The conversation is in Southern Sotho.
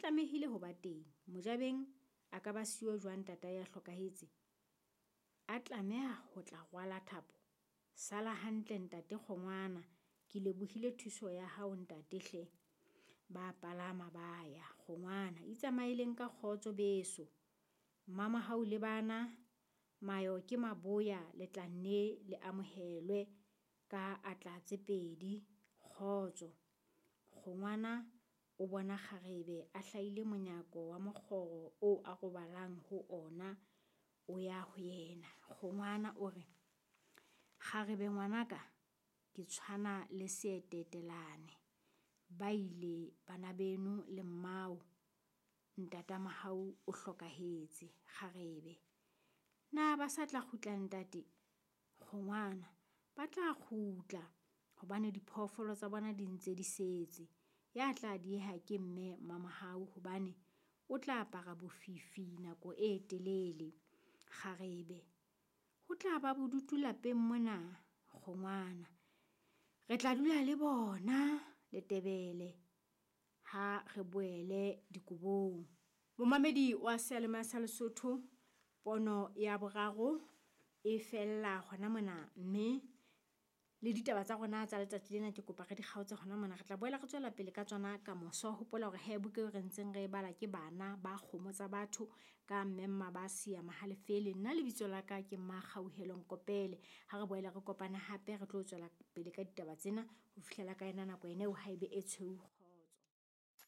tlamehile ho ba teng. Mojabeng a ka ba siyo jwang ntatae a hlokahetse? A tlameha ho tla rwala thapo? Sala hantle ntate Kgongwana, ke lebohile thuso ya hao ntate hle. Ba palama ba ya. Kgongwana, Itsamaeleng ka kgotso beso. Mmamohau le bana, mayo ke maboya le tla nne le amohelwe ka atla tse pedi. Kgotso. Kgongwana o bona kgarebe a hlahile monyako wa mokgoro oo a robalang ho ona, o ya ho yena. Kgongwana o re, Kgarebe ngwanaka, ke tshwana le seetetelane. Ba ile bana beno le mmao, ntata Mohau o hlokahetse. Kgarebe, Na ba sa tla kgutla ntate? Kgongwana, Ba tla kgutla hobane diphoofolo tsa bona di ntse di setse. Ya tla dieha ke mme Mmamohau hobane o tla apara bofifi nako e telele. Kgarebe, Ho tla ba bodutu lapeng mona. Kgongwana, Re tla dula le bona Letebele ha re boele dikobong. Momamedi wa seyalemoya sa Lesotho, pono ya boraro e fella hona mona mme le ditaba tsa rona tsa letsatsi lena ke kopa re di kgaotse hona mona. Re tla boela re tswela pele ka tsona ka moso. Hopola hore he buka eo re ntseng re e bala ke Bana ba Kgomo Tsa Batho ka Mme Mmabasi ya Mahalefele. Nna lebitso la ka ke Mmakgauhelo Nkopele. Ha re boele re kopane hape re tlo tswela pele ka ditaba tsena ho fihlela ka yona nako ena eo haebe e tshweu.